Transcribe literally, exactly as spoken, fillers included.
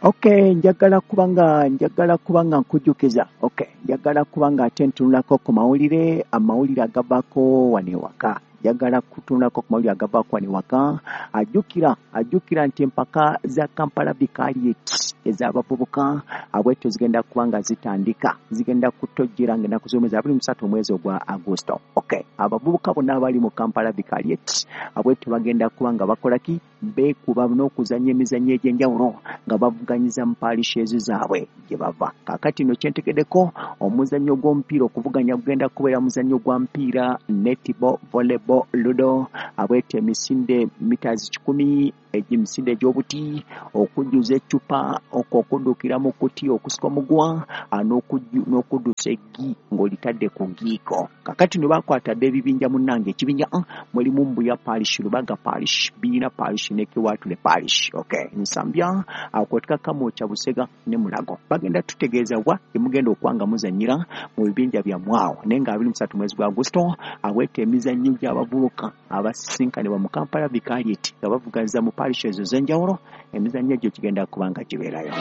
Okay, njagala kubanga njagala kubanga nkujjukiza. Okay, njagala kubanga ate ntunulako ku mawulire, amawulire agavaako wano ewaka. Njagala kutunulako ku mawulire agavaako wano ewaka. Ajjukira ajjukira nti empaka za Kampala Vicariate ez'abavubuka abwetyo zigenda kuba nga zitandika, zigenda kutojjera ng'ennaku z'omwezi abiri mu ssatu omwezi ogwa Agosto. Okay, abavubuka bonna abali mu Kampala Vicariate abwetyo bagenda kuba nga bakola ki? Beekuba n'okuzannya emizannyo egy'enjawulo nga bavuganyiza mu parishes zaabwe gye bava. Kaakati nno kyentegeddeko, omuzannyo gw'omupiira okuvuganya gugenda kubeera muzannyo gwa mpiira, netball, volleyball, ludo, abwetyo emisinde mitazi kikumi, emisinde egy'obuti, okujjuza eccupa, okwo okuddukira mu kuti, okusika omuguwa, n'okuddusa eggi ng'olitadde ku ngiiko. Kaakati nno bakwatadde ebibinja munnange. Ekibinja A mulimu Mbuya Parish, Lubaga Parish, Biina Parish ne Kiwatule Parish. Okay, Nsambya, akwotka Kamwokya, Busega ne Mulago. Bagenda tutegeeza wa emugenda okuba nga muzannyira mu bibinja byammwe awo. Naye nga abiri mu ssatu mwezi gwa Agosto aweta emizannyo gy'abavubuka abasisinkanibwa mu Kampala Vicariate nga bavuganyiza mu parishes ez'enjawulo, emizannyo egyo gigenda kuba nga gibeerayo.